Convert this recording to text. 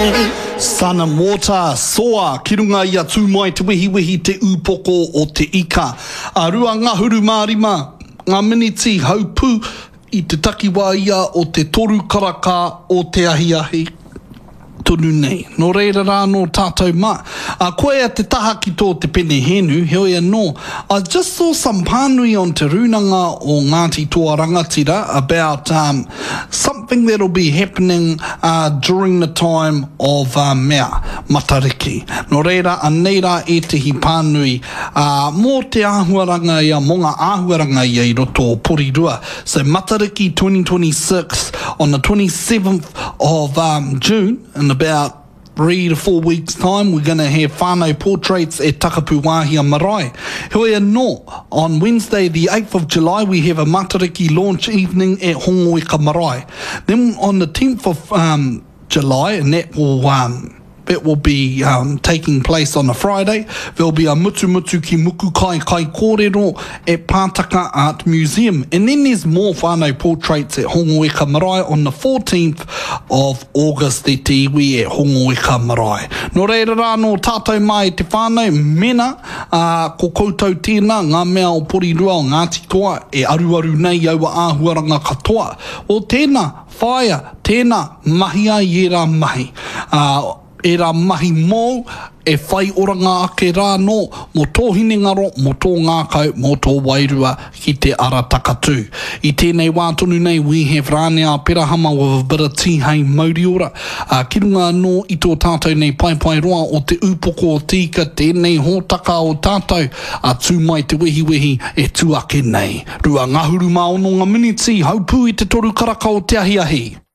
Sun and water, soa, ki runga i a Tūmai Te Wehiwehi te ūpoko o te ika. A 25 ngā miniti haupū i te takiwā ia o te toru karaka o te ahiahi tonu nei. Nō reira rā anō tātou mā. A koia te taha ki tō te pene hēnu, heoi anō, I just saw some pānui on Te Rūnanga o Ngāti Toa Rangatira about um, something that'll be happening uh, during the time of uh, mea, Matariki. Nō reira, anei rā ētehi pānui uh, mō te āhuaranga ia, mō ngā āhuaranga ia i roto o Porirua. So Matariki 2026 on the 27th of um, June in about 3 to 4 weeks time we're gonna have whānau portraits at Takapu Wāhia Marae. Heoi anō, on Wednesday the 8th of July we have a Matariki launch evening at Hongoeka Marae. Then on the 10th of um, July, and that will um, that will be um, taking place on a Friday. There'll be a Mutumutu ki Mukukai Kai Kōrero at Pātaka Art Museum. And then there's more whānau portraits at Hongoeka Marae on the 14th of August e te iwi e Hongoeka Marae. Nō reira rā nō tātou mā e te whānau, mena, ā, ko koutou tēnā, ngā mea o Porirua, o Ngāti Toa, e aruaru nei i aua āhuaranga katoa. O tēnā, whāia, tēnā, mahia i ērā mahi. Ā, ērā mahi mōu e whai oranga ake rā anō mō tō hinengaro, mō tō ngākau, mō tō wairua ki te ara takatū. I tēnei wā tonu nei we have Rāne Aperahama with a bit of tīhei mauriora, ā, ki runga anō i tō tātou nei paepae roa o Te Ūpoko o Te Ika tēnei hōtaka o tātou, a Tū Mai Te Wehiwehi e tū ake nei. 26 ngā miniti, haupū i te toru karaka o te ahiahi.